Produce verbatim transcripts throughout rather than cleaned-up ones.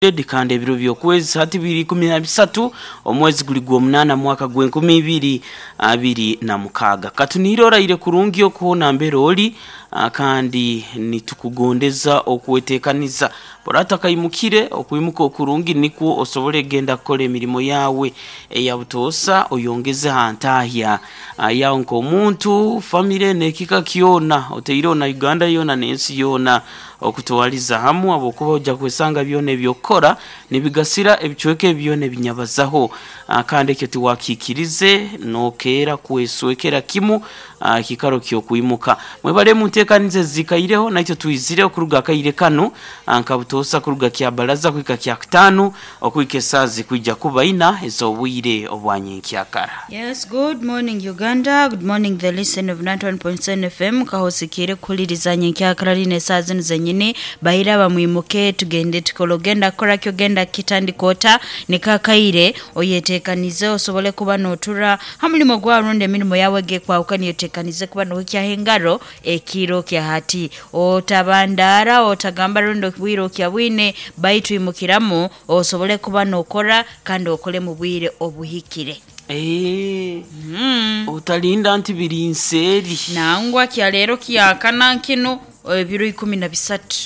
Kandi ebiro by'okwezi hati biri ikumi na bisatu, omwezi guli gw'omunaana, mwaka gw'enkumi ibiri abiri na mukaaga. Katuniire oraire kurungi okuhona mbere ori, ah, kandi nitukugondeza okwetekaniza bora takaimukire okwimuka okurungi, nikwo osobole genda kukora emirimo yawe eya butoosa, oyongeze ha ntahya ah, yawe nk'omuntu, famire n'ekika kyona oteireho na Uganda yoona n'ensi yoona okutwaliza hamu, habwokuba ojja kwesanga byona ebyokukora nibigasira ebicweka ebi byona ebinyabazaho. Ah, kandi ekyo tiwakiikirize nokeera kweswekera kimu ah, ekikaro ky'okwimuka. Mwebale munteekaniza ezikaireho naitwe twizire okuruga akaire kanu ah, nka butoosa kuruga kyabaraza kuhika kyakutaano, okuhika esaaha zikwija kuba ina ez'obwire obwa nyenkyakara. Yes, good morning, Uganda. Good morning, the listen of ninety-one point seven F M. Kahosikire kuhuliriza nyenkyakara lino esaaha zinu zenyini. Bahira bamwimuke tugende tukole, ogenda kukora ki, ogenda kitandika ota, nikakaire oyetekanize osobole kuba notura ha mulimo gwawe rundi emirimu yawe gekwahukana, otekanize kuba nohikyaho engaro ekiro kya hati. Otabandara, otagamba rundi obwire okya bwine, baitu imukiramu osobole kuba nokora kandi okole mu bwire obuhikire. Eh, Mm. otalinda nti biri nseeri. Nangwa kyaleero kyakana nkino ebiro ikumi na bisatu,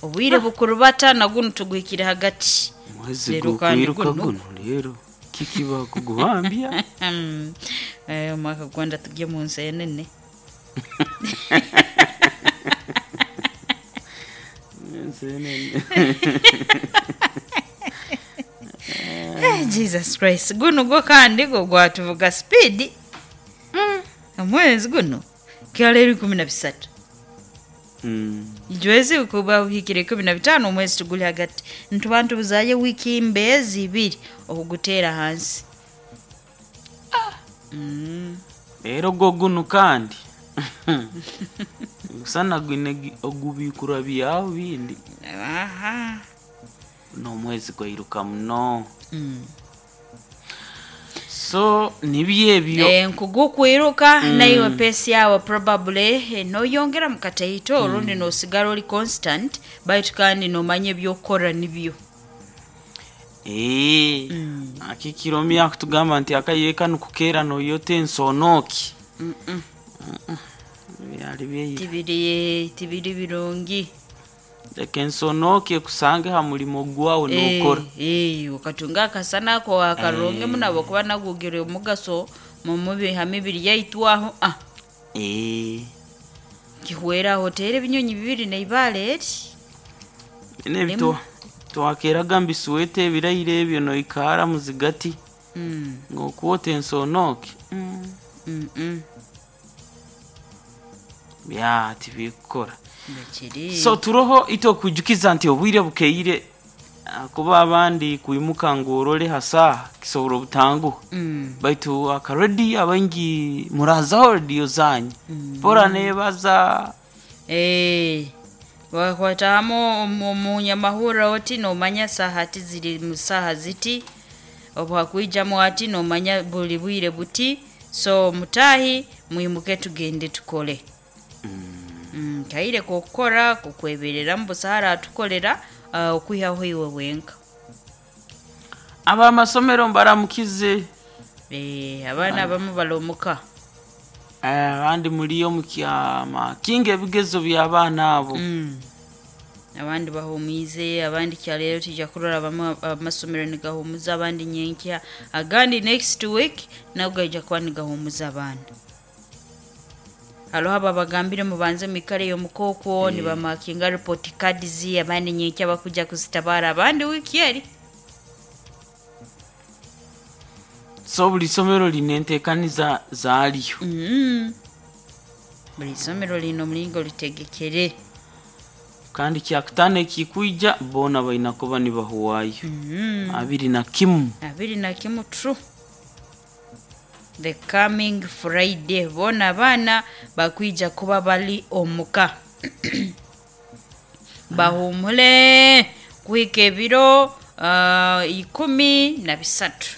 obwire bukurubata nagunu tuguhikire hagati. Mwezi Leero kandi gukwiruka guno. Guno leero kikiba kuguhambya. Mm. Eh, omwaka gwanda tugye mu nsi enene. Ensi enene. Eh, Jesus Christ, guno gwo kandi gwo gwatuvuga speed. Omwezi guno kyaleero ikumi na bisatu, Mm. ijwezi kuba uhikire ikumi na bitano, omwezi tuguli hagati, ntuba ntubuzayo wiki mbezi ibiri okuguteera hansi. Mm. Leero gwo guno kandi gusana gwine gi- ogubikura byawo bindi. Aha. N'omwezi gwairuka muno. Mm. So nibyo ebyo. Eh, nkugukwiruka naiwe pace yawe probably eh, noyongera mukataito orundi nosigara oli constant, baitu kandi nomanya ebyokukora nibyo. Eh, akikiro akutugamba nti akaire kanu kukeera noyota ensonooki Mm-mm. byali byeira. tibiri tibiri birungi. Leka ensonooki ekusange ha mulimo gwawe nokora. Eh, eh, okatunga akasana ako akarungi muno habwokuba nagugire omugaso mumubi ha mibiri yaitu aho ah. Eh, Kihwera oteera ebinyonyi bibiri neibaale eri. Bino ebyo twakeraga mbisweta ebiraire ebyo noikara muzigati Mm, ng'okwota ensonooki mm. mm, mm. Bya tibikukora. Bekiri. So turoho itwe okwijukiza nti obwire bukeire, ah, kuba abandi kwimuka ngu orole ha saaha kisobora obutanguha, Mm. baitu akarediyo abaingi murazaho rediyo zanyu bora nebaza. Eh, wakwatahamu omunyamahurra oti nomanya saha ati ziri mu saha ziti, obu hakwijamu ati nomanya buli bwire buti. So mutahi mwimuke tugende tukole. Mm, kaire kokukora kukwebereramu busaara atukolera uh, okwihaho iwe wenka. Abamasomero mbaramukize. Eh, abaana abamu balomuka. Eh, abandi muliyo mukyama kinga ebigezo by'abaana abo. Mm. abandi bahumize, abandi kyaleero tijja kurora bamwe amasomero nigahumuza abandi nyenkya, agandi next week nago gaija kuba nigahumuza abaana. Hariho abo bagambire mubanze mwikale yomukooko, nibamakinga report cards, abandi nyenkya bakuja kuzitabara, abandi wiki eri. So buli somero lina enteekaniza zaalyo. Mm. buli somero lina omulingo litegekere. Kandi kyakutaano ekikwija boona balina kuba nibahuwayo. Mm. Abiri na kimu. Abiri na kimu, true, the coming Friday boona abaana bakwija kuba bali omuka bahumule kuhika ebiro uh, ikumi na bisatu.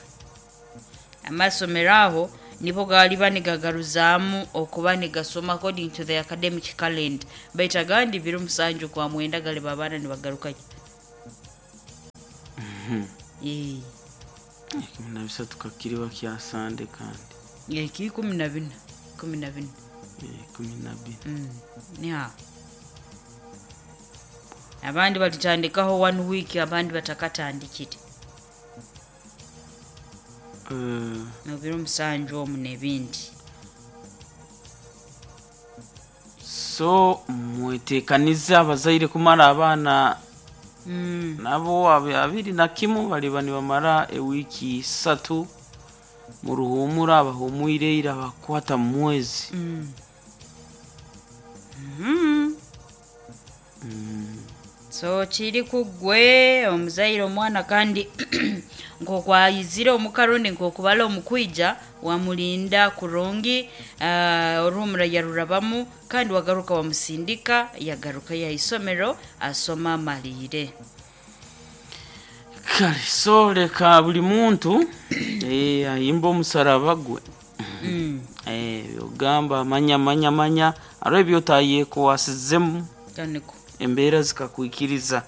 Amasomero aho nibo galiba nigagaruzaamu okuba nigasoma according to the academic calendar, baitu agandi biro musanju kwa mwenda galiba abaana nibagarukayo. Eh, Ikumi na bisatu kakiriba kya sande kandi eki ikumi na bina ikumi na bina. Eh, ikumi na bina. Mm, yeah. Abandi balitandikaho one week, abandi batakatandikire. Eh, Mubiro musanju omu n'ebindi. So mwetekanize abazaire kumara abaana. Mm. Nabo abi- abiri na kimu baliba nibamara ewiiki isatu mu ruhumura, abahumwire ira bakwata mu mwezi. Mm. Mm. So kiri kugwe omuzaire omwana, kandi nkokwayizire omukarundi nkokubala omukwija wamulinda kurungi, uh, oruhumura yarurabamu kandi wagaruka wamusindika yagaruka yaisomero asoma amalire. Kale, so leka buli muntu eh, ayimba omusaraba gwe. Mm. Eh, byogamba manya manya manya aro ebyotayekwasizemu Kaniko. Embeera zikakwikiriza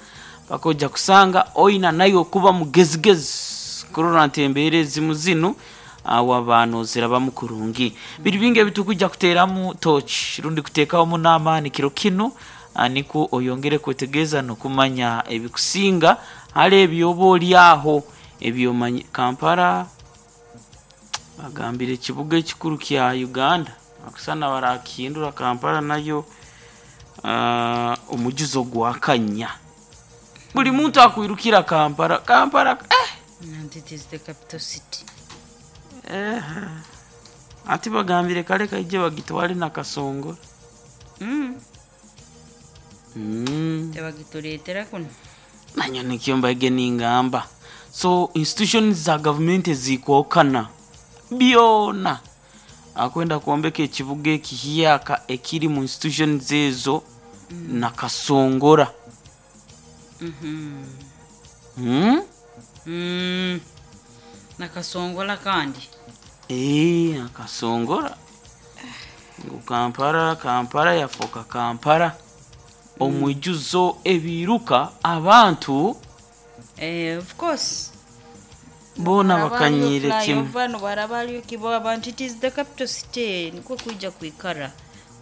paka ojja kusanga oina naye okuba mugezigezi kurora nti embeera ezimu zinu awo zirabamu kurungi. Biri bingi ebitukujja kuteeramu tochi rundi kuteekamu n'amaani kiro kinu, ah, nikwo oyongere kwetegeeza n'okumanya ebikusinga hali ebyoba oli aho ebyomanyi. Kampala bagambire ekibuga ekikuru kya Uganda, akusana barakihindura Kampala nayo, ah, omujuzo gwakanya buli muntu akwirukira Kampala, Kampala, eh! And it is the capital city. Eh, ati bagambire kale kaije bagitwale nakasongo. Mm. Mm. Tebagituleetera kuno. Nanyo nikyo mbaige ningamba, so institutions za gavumenti zikwokana byona akwenda kwombeka ekibuga ekihiyaka ekiri mu institutions ezo mm. nakasongora. Mhm. Mm? Mm. Nakasongola kandi. Eh, nakasongora ngu Kampala, Kampala yafoka Kampala omwijuzo ebiruka abantu. Eh, of course. Boona bakanyire kimu. Bano barabaliyo kibo abantu, it is the capital city, nikwo kwija kwikara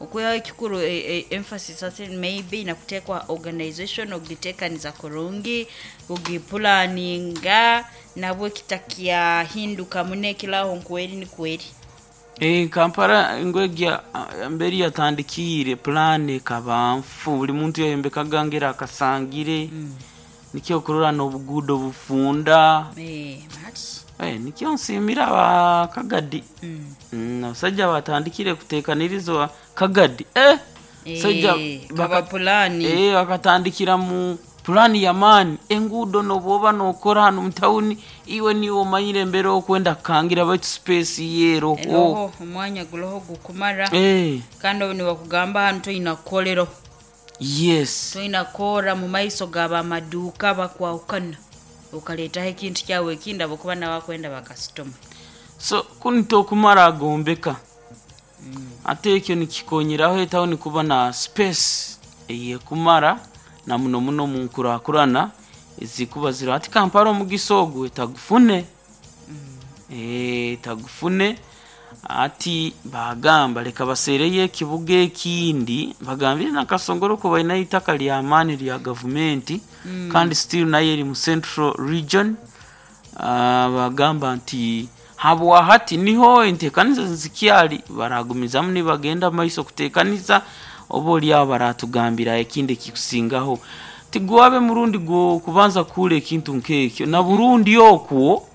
okwihaho ekikuru, eh, eh, emphasis ase maybe nakutekwa organization ogitekaniza kurungi ogipulaninga nabwo kitakyahinduka muno ekilaho nkweri ni kweri. Eh, Kampala ngwegya ah, mberi yatandikiire plan ekaba nfu, buli muntu yayembekaga ngera akasangire mm. Nikyo okurora n'obuguudo bufunda. Eh, mati. Eh, nikyo nsiimira abakagadi. Mm. Mm, abasajja batandikire kuteekaniriza kagadi, eh, sajja. Eh, kaba pulani. Eh, bakatandikira mu pulani yamaani, enguudo nobwoba nokora hanu mutawuni iwe niwe omanyire embeera okwenda kukangira baitu space yeroho. Eroho omwanya guloho gukumara. Eh, kandi obu nibakugamba hanu toyina kukolero, yes. Toyina kukora mu maiso gabamaduuka bakwahukana okaleetaho ekintu kyawe ekindi abakuba nabakwenda bakasitoma. So kunu tokumara agombeka ate ekyo nikikonyeraho etawuni kuba na space eyekumara na muno muno mu nkurakurana ezikuba ziri ati Kampala omugisa ogwo etagufune. Eh, etagufune ati bagamba leka baseereyo ekibuga ekindi, bagambire nakasongoro ko balinayo itaka lyamaani lya gavumenti kandi still nayo eri mu central region. Ah, bagamba nti habwahati niho entekaniza zikyali, baragumizamu nibagenda maiso kutekaniza oba oliawo baratugambira ekindi ekikusingaho. Tigwabe murundi gwo kubanza kuhura ekintu nkekyo na Burundi okwo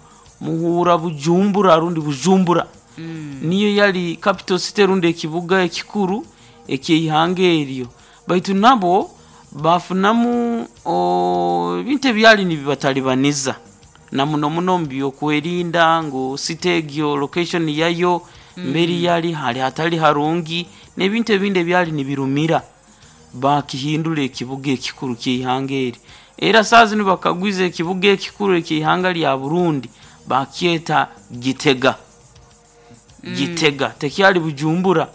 muhura Bujumbura rundi Bujumbura mm. Niyo yali capital city rundi ekibuga ekikuru ekyeihanga eryo, baitu nabo bafunamu o, ebintu ebyali nibibatalibaniza na muno muno mu byokwerinda ngu city egyo location yayo mberi yali hali hatali harungi n'ebintu ebindi ebyali nibirumira, bakihindura ekibuga ekikuru kyeihanga eri. Era saa zinu bakagwiza ekibuga ekikuru ekyeihanga lya Burundi bakyeta Gitega. Gitega tekyali Bujumbura,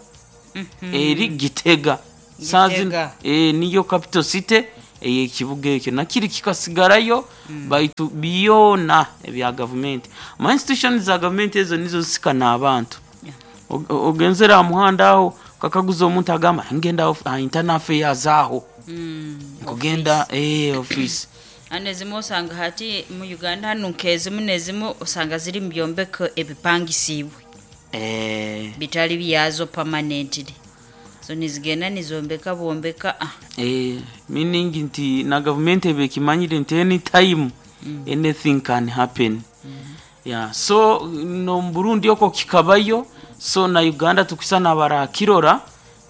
eri Gitega saa zinu. Gitega. E, niyo capital city Eyekibuga ekyo nakiri kikasigarayo, baitu byona ebya gavumenti, ama institution za gavumenti ezo nizo zisikana abantu. Yeah. Og- ogenzera aha muhanda aho kakaguza omuntu agamba ngenda of- aha internal affairs aho Mm, nkugenda eh office. Hano ezimu osanga hati mu Uganda hanu nkezimu nezimu osanga ziri mu byombeko ebipangisiibwe eh bitali byazo permanently, so nizigenda nizombeka bombeka, ah. eh meaning nti na gavumenti eba ekimanyire nti anytime anything can happen. Yeah, so no mu Burundi oko kikabayo, so na Uganda tukusa nabarakirora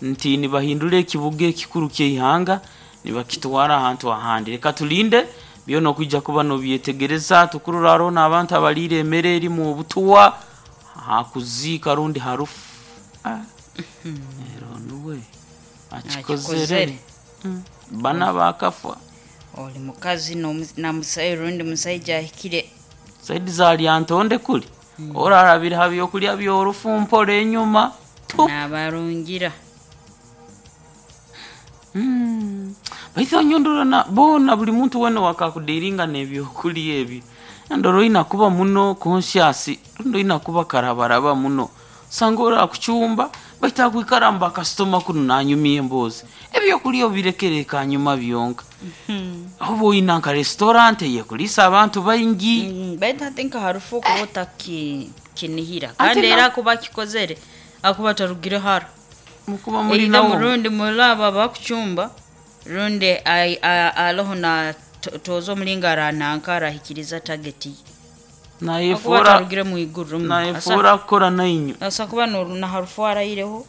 nti nibahindura ekibuga ekikuru ky'eihanga nibakitwara ahantu ahandi. Reka tulinde byona okwijja kuba nobyetegereza tukurora hariho n'abantu abaliire emere erimu obutuwa hakuziika rundi harufu. Ah. Ero nuwe akikozere. Akikozere. Mm. Bana bakafa. Oli mukazi n'omu- na musayi rundi musaija ahikire. Saidi za Lyantonde kuli orarabira ha byokulya byorufu mpola enyuma Tu. N'abarungira. Mm. Baitu anyondora na bona buli muntu wena wakakudiringa n'ebyokulya ebyo ndoro oyina kuba muno conscious, rundi oyina kuba karabaraba muno, sanga orakucumba baitu akwikara mu bakasitoma kunu nanyumya emboozi, ebyokulya obirekere kanyuma byonka, oba oyina nka restaurant eyekulisa abantu baingi. Mm, baitu hati nka harufu okuba otakinihira Ate kandi na- era akuba akikozere akuba atarugire hara. Mukuba muli Either nawo. murundi mulaba bakucumba rundi ai- a- aloho na to- toza omulinga arananka arahikiriza target ye. Akuba Nayefuura atarugire mu iguru mm. nayefuura kukora nainywe. Asa kuba no- na harufu arayireho.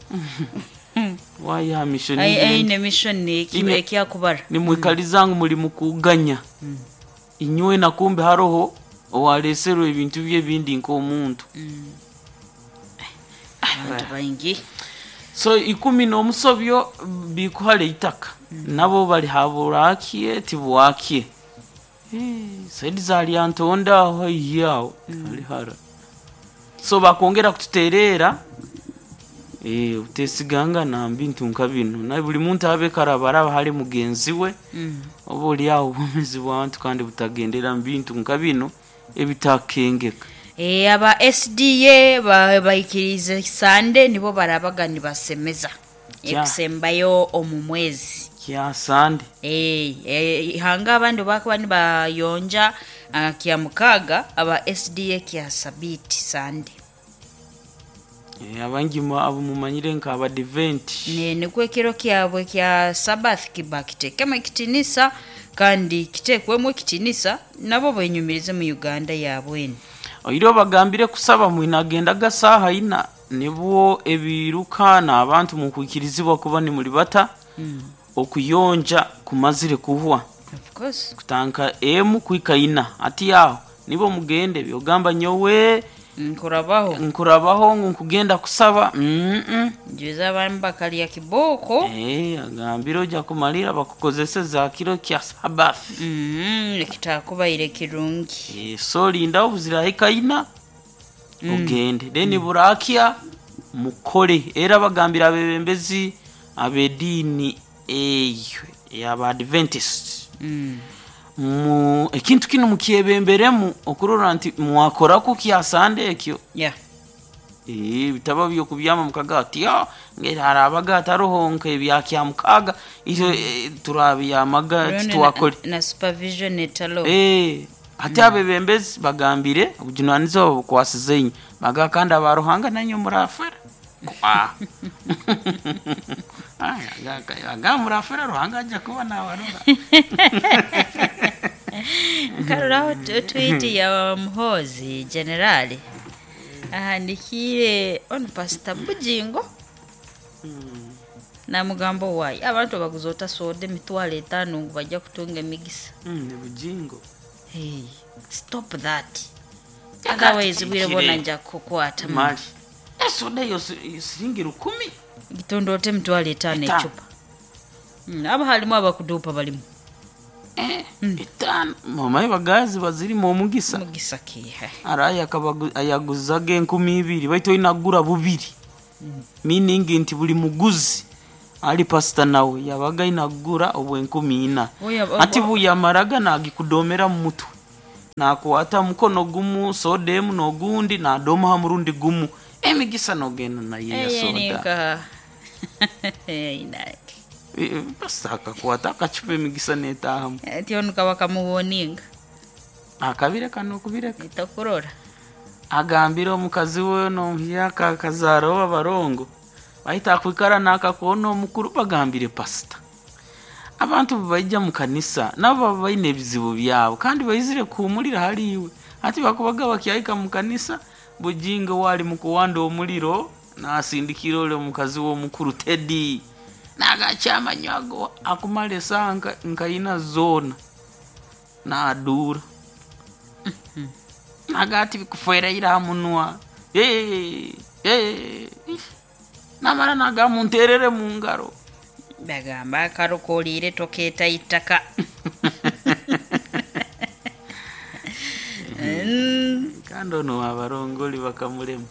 Wayiha mission Ai- igenda. aine mission eki- Ine- ekyakubara. Nimwikaliza ngu muli mukuganya inywe na kumbe haroho owaleserwe ebintu bye ebindi nk'omuntu. Abantu baingi. So ikumi n'omusobyo bikuhara eitaka nabo bali haburakye tibwakye. Eh, saidi za Lyantonde aho haihi aho hali hara, so bakwongera kututereera. Eh, utesiganga bintu nka bino na buli muntu abe karabaraba hali mugenzi we. Mm. Oba oli awo obwomeezi bw'abantu kandi butagendera mu bintu nka bino ebitakengeka. Eh, aba S D A ba- baikirize sande nibo barabaga nibasemeza Kya. ekusembayo omu mwezi. Kya sande. Eh, eh, ihanga abandi bakuba nibayonja ah, kya mukaaga, aba S D A kya sabiti sande. Eh, abangi mu- abo mumanyire nka abadiventi. Ne- nikwo ekiro kyabwe kya Sabbath kiba kitekemu ekitinisa kandi kitekwemu ekitinisa nabo benyumirize mu Uganda yabwene. Oire obagambire kusaba mwinagendaga saaha ina nibwo ebiruka n'abantu mukwikirizibwa kuba nimuli bata okuyonja kumazire kuhwa. Of course. Kutanka emu kwika ina ati aho nibo mugende byogamba nyowe Nkurabaho. Nkurabaho ngu nkugenda kusaba mm -mm. Njuza abantu bakalya kiboko. Eh, agambire ojja kumalira bakukozeseza kiro kya Sabbath. Mm, ekitakubaire kirungi. Eh, so linda obuzirahika ina ogende then burakya mukole. Era bagambira abebembezi ab'ediini eyo ey'abadventist Mm. mu ekintu kino mukyebemberemu okurora nti mwakoraku kyasande ekyo. Yeah. Eh, bitaba byokubyama mukaga ati "Ah, ngeri harabaga hataroho nk'ebya mukaga ivyo eh, turabyamaga Rundi titwakole." na, na supervision etalo. Eh, ate abebembezi bagambire obujunanizibwa bukwasize inywe baga kandi abaruhanga nanywe murafera. Ah. Aya, aga- aga murafera Ruhanga ajja kuba nawarora. Nkaruraho tu- tweet ya Muhozi generali ahandikire ono Pastor Bujingo namugamba wayi abantu baguza otasoda emitwalo etaano ngu bajja kutunga emigisa. Mm, ni Bujingo. Hey, stop that, otherwise bwire bona nja kukwata. Mali esoda eyo si- siringi rukumi. Gitondo ote emitwalo etaano. Etaano. Ecupa. Mm, aba halimu abakuduupa balimu. Eh, etaano mamaye bagazi bazirimu omugisa. Mugisa kiha? Araye akabagu- ayaguzaga enkumi ibiri baitu oinagura bubiri, meaning nti buli muguzi Ali pasita nawe yabaga inagura obwenkumi ina. Oya, o- Ati buyamaraga nagikudomera mu mutwe, nakwata mukono gumu soda emu n'ogundi nadoma ha murundi gumu, emigisa nogenda nayo ya Eye soda. nika. Inake. Eh, pasita akakwata akacupa emigisa netahamu. Ati onu kaba kamuwoninga. Akabireka nokubireka. Itakurora. Agambire omukazi we nomuhyaka akazaaraho abarongo bahita akwikara nakakona omukuru. Bagambire pasita, abantu baija mu kanisa nabo baba baine ebizibu byabo kandi baizire kuhumulira haliiwe. Ati bakubaga bakyahika mu kanisa, Bujingo wali mukuwanda omuliro nasindikira ole omukazi we omukuru Tedi nagakyamanywago akumala esaaha nka- nkaina zoona naduura nagati bikufwereire ha munwa. Eh, eh, namara nagamunterere mu ngaro. Bagamba akarokoolire tokeeta itaka. Mm, kandi ono abarongoli bakamulema.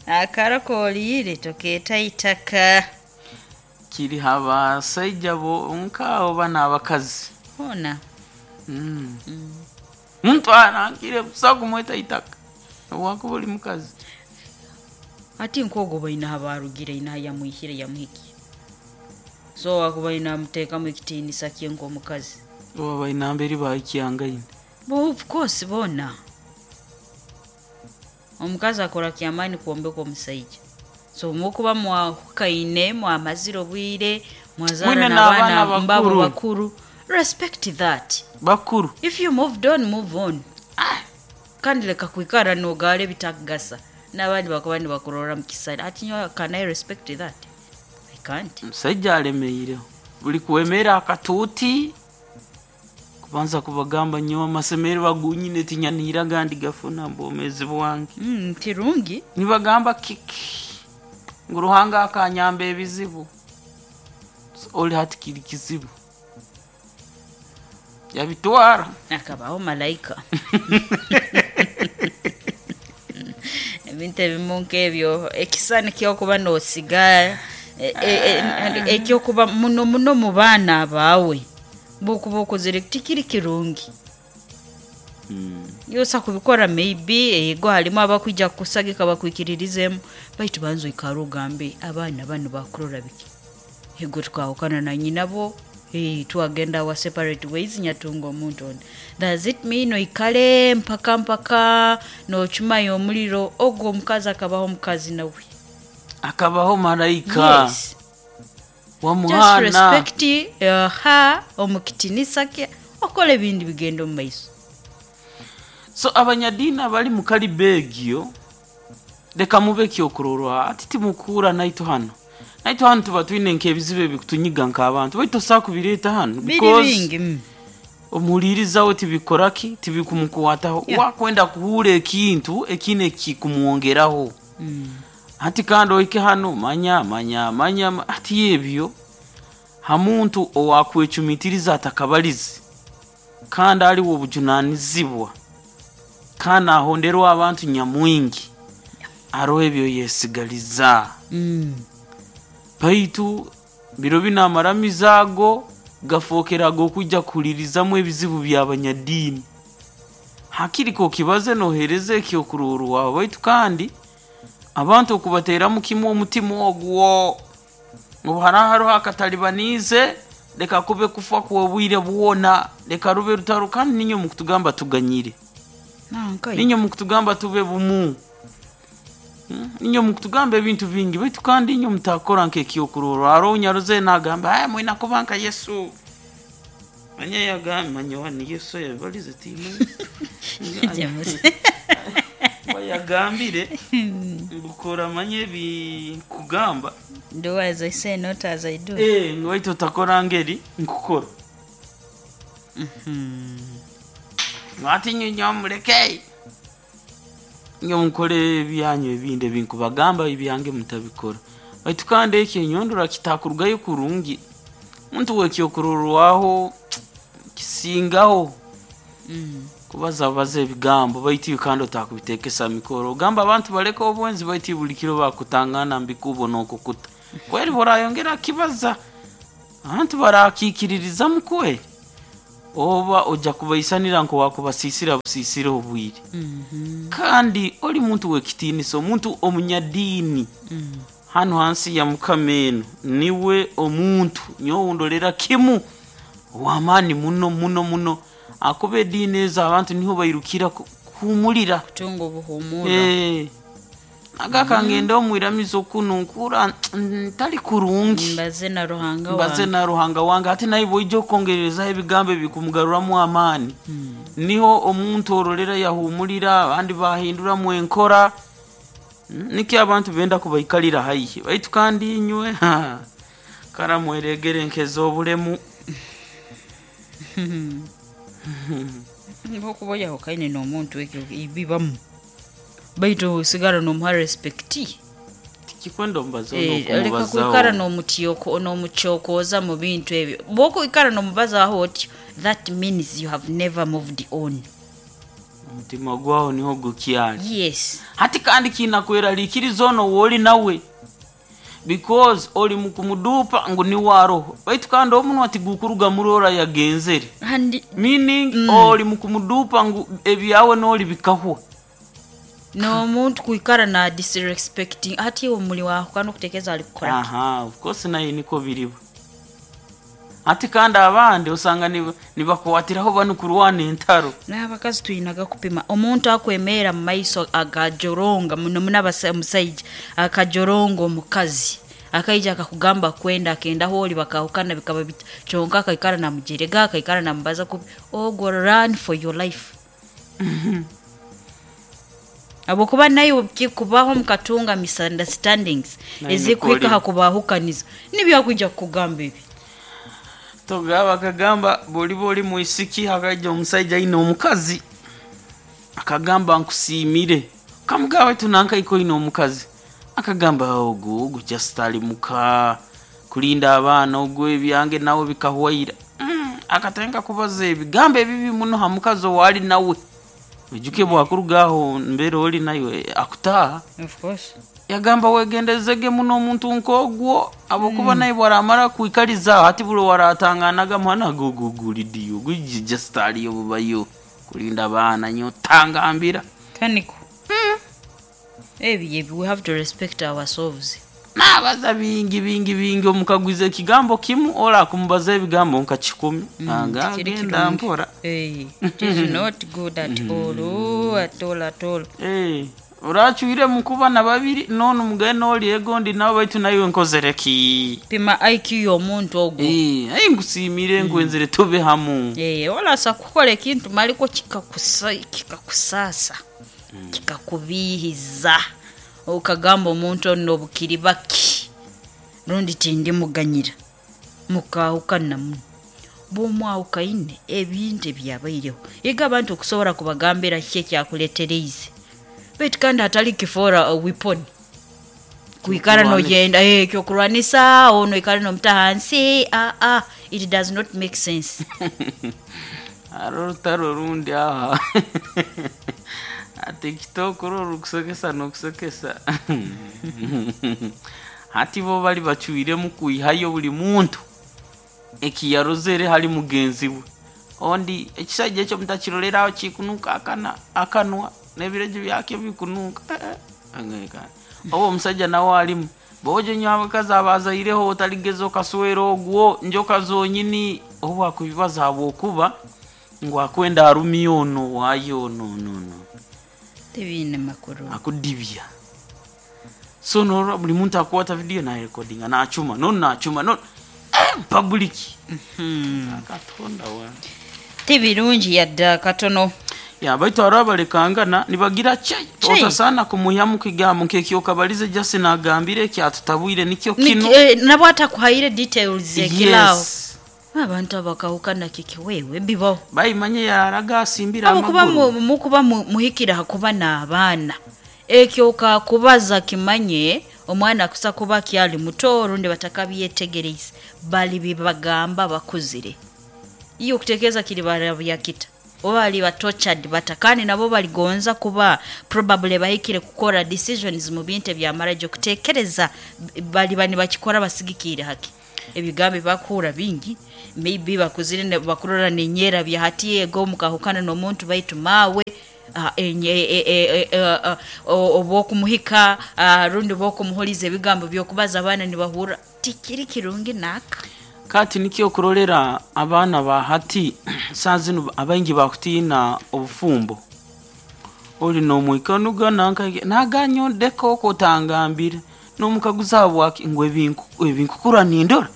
Akarokoolire tokeeta itaka. Kiri abasaija bo nkaabo bana abakazi. Hona. Mm. Mm. Muntu arangire busa kumweta itaka wakuba oli mukazi. Ati nk'ogwo baina abarugire ina yamuhikire yamuhikiye. So wakuba ina amuteekamu ekitiinisa kye nk'omukazi. Oba baina mberi bahikyangaine. Bo of course bona. Omukazi akora kyamaani kwombeka omusaija. So mukuba mwahukaine mwamazire obwire mwazaara Mwine n'abaana n'abaana mbabo bakuru. bakuru. Respect that. Bakuru. If you moved on, move on. Kandi leka kwikara nogaala ebitakugasa n'abandi bakuba nibakurora mu kisani. Ati nyowe, can I respect that? I can't. Omusajja alemeireho buli kuwemera akatuuti kubanza kubagamba nyowe amasemero bagunyine tinyanira gandi gafuna mbwomezi bwange. Mm, kirungi. Nibagamba kiki ngu Ruhanga akanyamba ebizibu. So, oli hati kiri kizibu yabitwara. Akabaho malayika. Ebintu ebimu nk'ebyo ekisani kyokuba nosiga e- e- e- ekyokuba muno muno mu baana baawe bokuba okozere tikiri kirungi. Yosa kubikora maybe ego halimu abakwija kusagika bakwikiririzemu, baitu banza oikare ogambe abaana bano bakurora biki. Ego twahukana na nyinabo, eh, twagenda our separate ways, nyatunga omuntu ondi. Does it mean oikale mpaka mpaka nochumayo omuliro ogwo omukazi akabaho omukazi nawe? Akabaho malayika. Yes. Just wamuhana. Respect uh, her omukitinisa kye okola ebindi bigenda omu maiso. So abanyadiini abali mu kalibegio leka mube kyokurorwa ati timukuura naitu hano naitu hano tuba twine nk'ebizibu ebikutunyiga nk'abantu baitu tosobola kubireeta hano biri because bingi mm. omuhulirizaho tibikoraki tibikumukwataho. Yeah. Wakwenda kuhuura ekintu ekine kikumwongeraho. Mm. Ati kandi ohike hano manya manya manya ma- ati ebyo hamuntu owakwecumitiriza atakabalizi kandi aliwo obujunanizibwa kandi ahonderwa abantu nyamwingi aroho ebyo yesigaliza. Mm. Baitu biro bino amaramizo ago gafookeraga okwijja kuhulirizamu ebizibu by'abanyadiini. Hakiri kokibaze nohereza ekyokurorwaho baitu kandi abantu okubateeramu kimu omutima ogwo obu haraho hariho akatalibaniize leka kube kufa kw'obwire bwona leka rube rutaro kandi ninyo mukutugamba tuganyire. Nanka Ninyo mukutugamba tube bumu. Mm, ninyo mukutugamba ebintu bingi baitu kandi inyo mutakora nk'ekyokurorwa hariho nyaruze nagamba aya mwina kuba nka Yesu manya yagamba manya wani Yesu yabalize timu Jamusi. wayagambire ngukora manye ebikugamba. Do as I say, not as I do. Eh, ngu waitu otakora ngeri nkukora ati nyo muleke nyo mukore ebyanyu ebindi ebinkubagamba ebyange mutabikora baitu kandi ekyo enyondora kitakurugayo kurungi muntu wekyokurorwaho kisingaho. Mm. Kubaza baza ebigambo baitu iwe kandi otakubitekesa mikoro ogamba abantu baleke obwenzi baitu buli kiro bakutangana mbikubo nokukuta. Kweri borayongera kibaza abantu barakikiririzamu kweri, oba ojja kubaisanira nko wakubasisira busisira obwire. Kandi oli muntu w'ekitiinisa, omuntu omunyadiini hano hansi ya Mukama eno, niwe omuntu nyowe ndolera kimu w'amaani muno muno muno, akuba ediini ezo abantu niho bairukira ku- kuhumulira Kutunga obuhumura. Eh, nagaka ngende omwiramizo kuno nkura ntali kurungi, mbaze na Ruhanga mbaze wange. Na Ruhanga wange. Ate naye bwoija okwongererezaho ebigambo ebikumugaruramu amaani, niho omuntu orolera yahumulira, abandi bahinduramu enkora. Mm, nikyo abantu benda kubaikalira haihi, baitu kandi inywe ha, kara mweregere nkez'obulemu. Okuba oyahukaine n'omuntu ekyo bibamu, baitu osigara n'omuha respect. Tikikwenda omubazaho. Eh, leka kwikara n'okumubazaho. n'omutyoko n'omucyokoza mu bintu ebyo. Bw'okwikara n'omubazaho otyo, that means you have never moved on. Omutima gwaho niho gukyali. Yes. Hati kandi kinakweraliikiriza ono wooli nawe, because oli mukumuduupa ngu niwe aroho, baitu kandi omunwa tigukuruga murora yagenzere. And Meaning mm. oli mukumuduupa ngu ebyawe nooli bikahwa. N'omuntu kwikara na disrespecting hati omuli wahukana okutekeeza ali kukora ki? Aha, of course naye niko biriba. Ati kandi abandi osanga niba- nibakwatiraho banu kurwana entaro. N'abakazi tuyinaga kupima omuntu akwemeera mu maiso agajoronga muno muno abasa- omusaija akajoronga omukazi akaija akakugamba kwenda akenda hooli bakahukana bikaba bit kyonka akaikara namujerega, akaikara namubaza kubi, ogwo run for your life, habwokuba naye kikubaho mukatunga misunderstandings Naye ezikuhika nikwo ha kubahukaniza nibyakwija kukugamba ebi. Togaba akagamba bwoliba oli mwisiki, hakaija omusaija aine omukazi akagamba nkusiimire, kamugaba baitu nankaiko oine omukazi, akagamba ogu ogu just ali muka kulinda abaana, ogwo ebyange nawe bikahwaira. mm, akatandika kubaza ebigambo ebibi muno ha mukazi owali nawe. Ojuke bwakurugaho mbeera oli nayo akutaaha. Of course. Yagamba wegendezege muno omuntu nk'ogwo, abokuba naye bwaramara kwikaliza hati buli waratanganaga mwana gogogulidiyo gujija aliyo bubayo kulinda abaana nyo tangambira. Kaniko ebi ebi we have to respect ourselves. Nabaza bingi bingi bingi, omukagwiza ekigambo kimu ola akumubaza ebigambo nka kikumi. Aga Tikiri agenda kirungi. mpora. Eh, it is not good at all, oh, at all, at all. Eh, oracwire mukuba na babiri none omugende oli egondi nawe, baitu nawe nkozere ki? Pima I Q y'omuntu ogwo. Eh, ayi nkusiimire nkwenzere tube hamu. Eh, olasa kukola ekintu maliko kikakusa kikakusaasa, kikakubiihiza, okagamba omuntu ono obukiri baki rundi tindimuganyira, mukahukana muno. Bwomwawukaine ebintu ebyabaireho iga abantu okusobola kubagambira kiki ekyakuletereize, baitu kandi hatali kifoora a weapon kwikara Kyokurwanisa. Nogenda eh, kyokurwanisa ono ikara nomuta hansi. Ah, ah, it does not make sense. Hariho orutaro rundi aha TikTok uru rukusekesa n'okusekesa. Hati bo bali bacwiremu kwihayo buli muntu ekiyarozere hali mugenzi we. Ondi ekisajja ekyo mutakiroleraho kikunuka akana akanwa n'ebireju byakyo bikunuka. Eh, eh, angeka. Oba omusajja nawe alimu bojo nyo abakazi abazaireho otaligeza okaswera ogwo njoka zonyini oba akubibaza habwokuba ngu akwenda arumya ono waayo ono ono ono. Tebiine makuru. Akudibya. So norora buli muntu akwata video narekodinga nachuma nono nachuma nono eh, public. Katonda wa Tibirungi yadde katono. Ya baitu hariho abalekangana nibagira chai. Chai. Otasana kumuhyamu kigambo nk'ekyokabalize jasi nagambire kyatutabwire nikyo kino. Niki- eh, nabwo atakuhaire details ekiraawo. Yes. Abantu abakahukana kiki wewe bibaho. Bayimanye yararaga asimbira Abakuba amaguru. mukuba mu- muhikira hakuba n'abaana, ekyo kakubaza kimanye omwana akusa kuba kyali muto rundi batakabyetegereize bali bibagamba bakuzire iyo okutekeeza kiri barabyakita. Oba bali ba tortured bata, kandi nabo baligonza kuba probably bahikire kukora decisions mu bintu ebya marriage, okutekereza bali bani bakikora basigikire haki ebigambo bakura bingi, maybe bakuzire ne- bakurora nenyera bya hati ego mukahukana n'omuntu baitu mawe ah, enye- e- e- e- e- ah, o- obwokumuhika, ah, rundi bwokumuhuliza ebigambo byokubaza abaana nibahura tikiri kirungi naka. Kati nikyo okurolera abaana ba hati saa zinu abaingi bakutiina obufumbo, oli nomwikanuga nanka naganyondeka oko otangambire nomukaguza habwaki ngu ebinku- ebinkukura nindora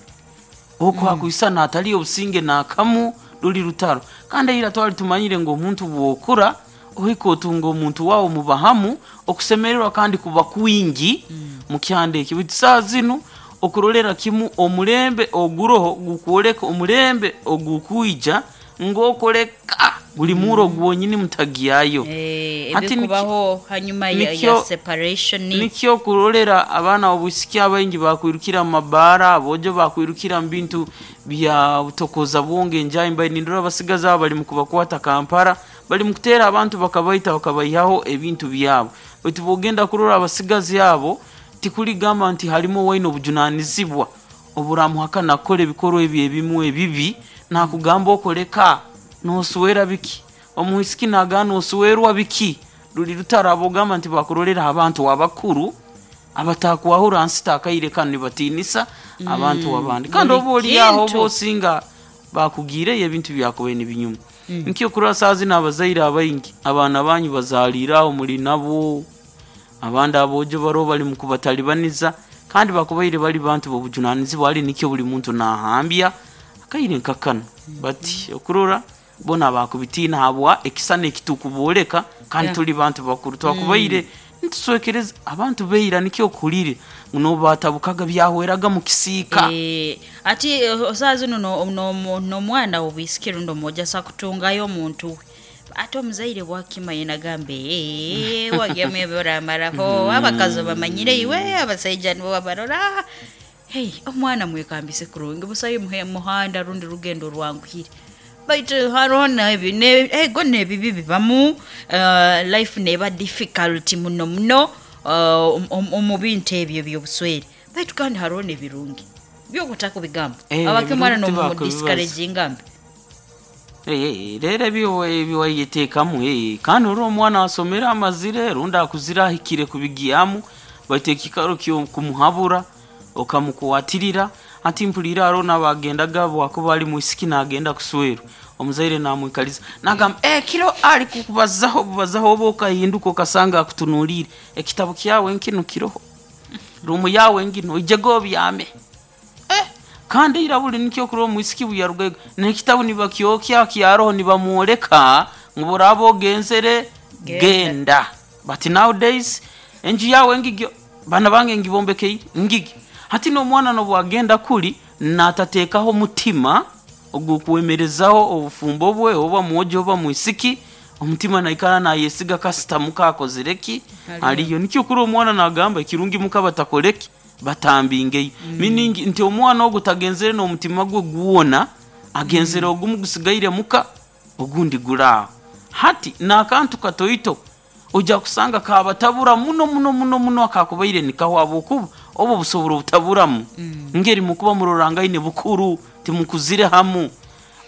oko hakuisa natali obusinge nakamu ruli rutaro. Kandi eira twali tumanyire ngu omuntu bwokura ohika otunga omuntu wawe mubahamu okusemererwa kandi kuba kwingi mukyanda eki. Baitu saa zinu okurolera kimu omulembe oguroho gukwoleka omulembe ogukwija ng'okoleka buli muro gwonyini mutagyayo. Eh, Hati niki- ebikubaho hanyuma ya, ya nikyo- separation. Nikyo kurolera abaana obwisiki abaingi bakwirukira mu mabaara, abojo bakwirukira mu bintu bya butokoza bwonge enjayi mbaire nindora abasigazi abo bali mu kubakwata Kampala, bali mu kuteera abantu bakabaita bakabayihaho ebintu byabo. Baitu bwogenda kurora abasigazi abo tikuligamba nti halimu owaine obujunanizibwa oburamuhakana kukora ebikorwa ebyo ebimu ebibi, nakugamba okoleka noswera biki, omuisiki nagana noswerwa biki, ruli rutaro. Abogamba nti bakurolera abantu abakuru abatakwahura nsi takaire kanu nibatinisa abantu abandi, kandi buli oba oli aho kintu. oba osinga bakugiireyo ebintu byakubaire nibinyuma. Nikyo kurora saa zinu abazaire abaingi abaana banyu bazaliire aho muli nabo, abandi abojo baroho bali mukubatalibaniza kandi bakubaire bali bantu b'obujunanizibwa, ali nikyo buli muntu nahambya akaire nkakano bati okurora bona bakubitiina habwa ekisana ekitukubooleka kandi Yeah. tuli bantu bakuru twakubaire nituswekereza abantu beira nikyo okulire nobatabukaga byahweraga mu kisiika. Eh, ati eh, saa zino n'omwana obwisiki rundi omwojo asa kutungayo omuntu we, ate omuzaire bwakima yenagambe wagemu ebyoramaraho abakazi bamanyire iwe abasaija nibo babarora. Hey, omwana mwekambise kurungi busayo muhe muhanda rundi rugendo rwanguhire, baitu hariho nebi- ne- ego nebibi bibamu, uh, life neba difficult muno muno uh, om- omu bintu ebyo byobuswere, baitu kandi hariho nebirungi byokutaka bigambo Eh, abakimwana ebirungi tibakubibazza. nomudiscouragingambe. Eh, eh, rero ebyo ebiwayetekamu eh, kandi ori omwana asomere amazire rundi akuzire ahikire kubigyamu, baitu ekikaro kyo kumuhabura okamukwatirira ati mpulira hariho nabagendaga bwakuba ali mwisiki nagenda kuswerwa omuzaire namwikaliza nagamba eh, kiro ali kukubazaho bubazaho oba okahinduka okasanga akutunuliire ekitabo kyawe nkinu kiroho rumu yawe ngino ijego obyame. Eh, kandi ira buli nikyo kurora omwisiki buyarugayo nekitabu nibakyokya kyaroho nibamwoleka ngu boraba ogenzere Genda. genda, but nowadays enju yawe ngigyo bana bange ngibombekeire ngigi. Hati n'omwana nobwagenda kuli natateekaho mutima ogukwemerezaho obufumbo bwe oba mwojo oba mwisiki, omutima naikara nayesiga kasita muka akozereki Aliyo. aliyo. Nikyo kuri omwana nagamba ekirungi muka batakoreki batambingeyo, meaning nti omwana ogu tagenzere n'omutima gwe gwona, agenzere ogumu gusigaire muka ogundi guraaho. Hati n'akantu katoito ojja kusanga kabatabura muno muno muno muno akakubaire nikaho habwokuba obo busobora obutaburamu ngeri mukuba murorangaine bukuru timukuzire hamu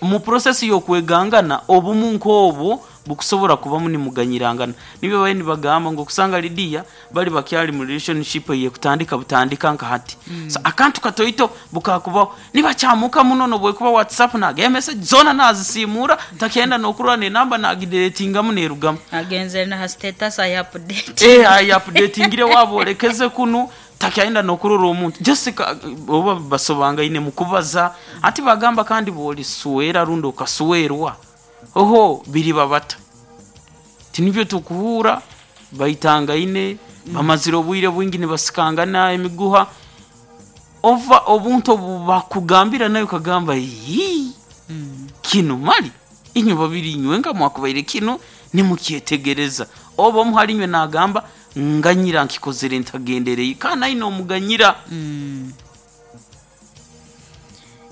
mu process y'okwegangana obumu nk'obwo bukusobora kubamu nimuganyirangana. Nibyo baye nibagamba ngu okusanga Lidiya bali bakyali mu relationship eyekutandika butandika nka hati mm. So, akantu katoito bukakubaho nibakyamuka muno nobwekuba WhatsApp nagaya message zona nazisimura takenda nokurora nenamba nagidetingamu nerugamu. Agenzere naha status ayi update. Eh, ayi updatingire wabolekeze kunu takyaenda nokurora omuntu Jessica oba basobangaine mukubaza ati bagamba kandi boliswera rundi okaswerwa oho biri babata tinibyo tukuhura baitangaine bamazire obwire bwingi nibasikangana emiguha ova obuntu obu bakugambira nayo kagamba yii kino mali inywe babiri inywe nga mwakubaire kino nimukyetegereza oba omu hali inywe nagamba nganyira nkikozere ntagendereye kandi aine omuganyira.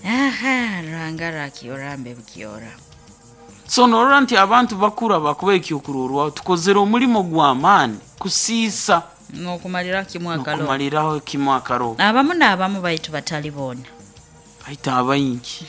Aha, ranga rakiora mbe bukiora. So norora nti abantu bakura bakuba ekyokurorwaho tukozere omulimo gw'amaani kusiisa n'okumalira kimu akalo n'okumaliraho kimu akaroho. Abamu n'abamu baitu batali boona. Baita abaingi.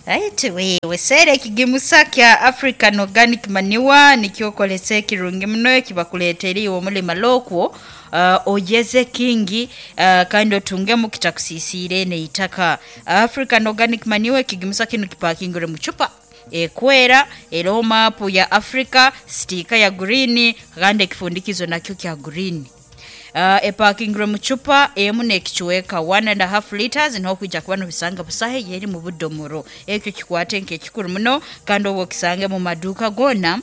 Aiti wewe sere ekigimusa kya African Organic Manure nikyokolesa ekirungi muno ekibakuleetera iwe omulima lokwo uh, oyeze kingi uh, kandi otungemu kitakusisiire neitaka. African Organic Manure ekigimusa kinu kipakingire mu cupa ekwera eroho maapu ya Africa, sitiika ya green kandi ekifundikizo nakyo kya green. Uh, epakingire mu cupa emu n'ekicuweka one and a half liters niho kwija kuba nobisanga busahe yeri mu budomoro. Ekyo kikwate nk'ekikuru muno kandi oba okisange mu maduuka goona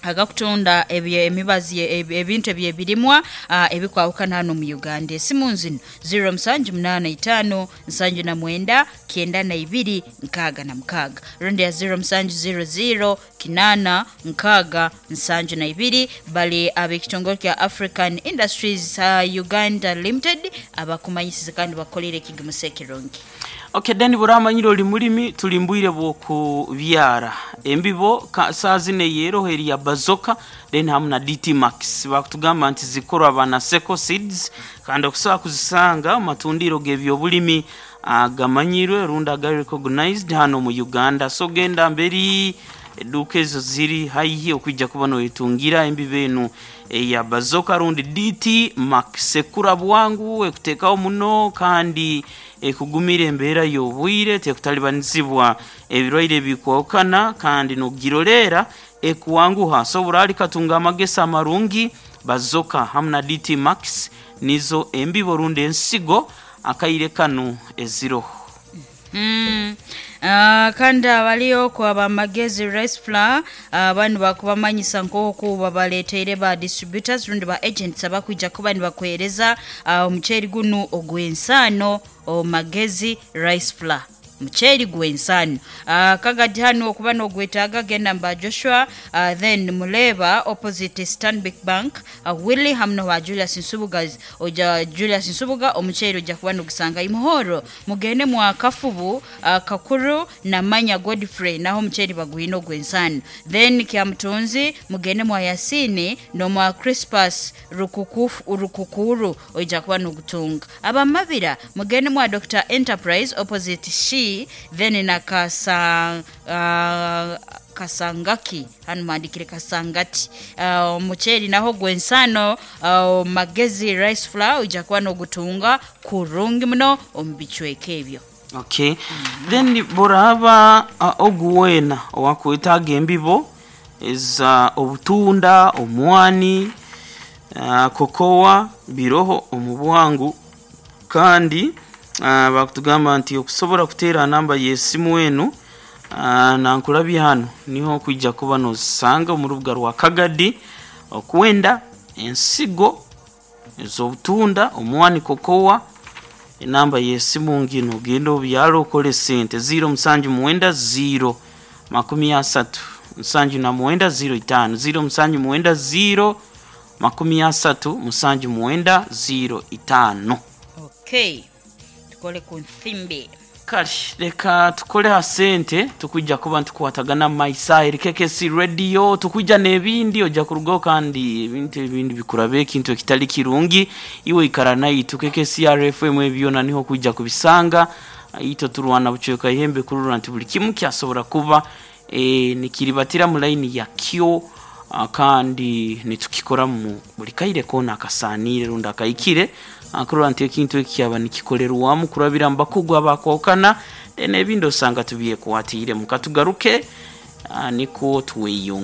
agakutunda ebye emibazi ebintu ebyebirimwa uh, ebikwawukana hano mu Uganda. Esimu nzino zero musanju munaana itaano nsanju na mwenda kyenda na ibiri nkaaga na mukaaga rundi ya zero musanju zero zero kinaana nkaaga nsanju na ibiri. Bali ab'ekitongole kya African Industries uh, Uganda Limited abakumanyisize kandi bakolere ekigimusa ekirungi. Okay, then buramanyire oli mulimi tulimbwire bwokubyara embibo saa zine yeroho eri ya Bazoka then hamu na D T Max bakutugamba nti zikorwa bana Seko Seeds kandi okusobola kuzisanga mu matundiro g'ebyobulimi agamanyirwe rundi agari recognized hano mu Uganda. So genda mberi eduka ezo ziri haihi okwijja kuba noyetungira embibo enu eya Bazoka rundi D T Max. Ekura bwangu, ekuteekawo muno kandi ekugumira embeera y'obwire, tekutalibanizibwa ebirwaire ebikwawukana kandi n'ogirolera ekuwanguha. So burali katunga amagesa amarungi. Bazoka hamu na D T Max nizo embibo rundi ensigo akaire kanu eziroho. Mm. Uh, kandi abaliyo ku abamagezi rice flour uh, banu bakubamanyisa nk'oku babaleeteire ba distributors rundi ba agents abakwija kuba nibakwereza uh, omuceeri gunu ogw'ensaano omagezi rice flour muceeri gw'ensaano. uh, kagadi hano okuba n'ogwetaaga genda mba Joshua uh, then Muleba opposite Stanbic Bank uh, Willy hamno wa Julius Nsubuga oja Julius Nsubuga omuceeri ojja kuba n'ogusanga Imuhoro mugende mwa Kafubu uh, Kakuru na Manya Godfrey naho omuceeri bagwina ogw'ensaano. Then Kyamutunzi mugende mwa Yasini nomwa Crispus Rukukufu Rukukuru ojja kuba n'ogutunga. Abamabira mugende mwa Doctor Enterprise opposite She then na kasa, uh, Kasangaki hano mandikire Kasangati omuceeri uh, naho gwensano uh, magezi rice flour ojja kuba n'ogutunga kurungi muno omu bicweka ebyo. Okay. Mm-hmm. Then boraba uh, oguwena owakwetaaga embibo eza obutunda omwani uh, kokowa biroho omu bwangu kandi Uh, bakutugamba nti okusobola kuteera namba y'essimu enu uh, nankulabye hano niho okwijja kuba n'ozisanga omu rubuga rwa Kagadi okwenda ensigo ez'obutunda omwani kokowa. Enamba y'essimu ngino ogenda obyala okole sente ziro musanju mwenda ziro makumi asatu musanju na mwenda ziro itaano ziro musanju mwenda ziro makumi asatu musanju mwenda ziro itaano. Okay. Tukole ku nsimbi kale leka tukole ha sente tukujja kuba ntukwatagana maisa eri K K C radio tukujja n'ebindi ojja kurugaho kandi ebintu ebindi bikurabe ekintu ekitali kirungi iwe ikara nayitu K K C R F M ebyona niho kujja kubisanga ito turwana bucweka ihembe kurura nti buli kimu kyasobora kuba e, nikiribatira mu line ya kyo kandi nitukikora mu buli kaire kona akasanire rundi akayikire akurura nti ekintu ekyaba nikikolerwamu kurabira mbakugwa bakwokana n'ebindi osanga tubiye kuwatire mukatugaruke niko tuweyunga.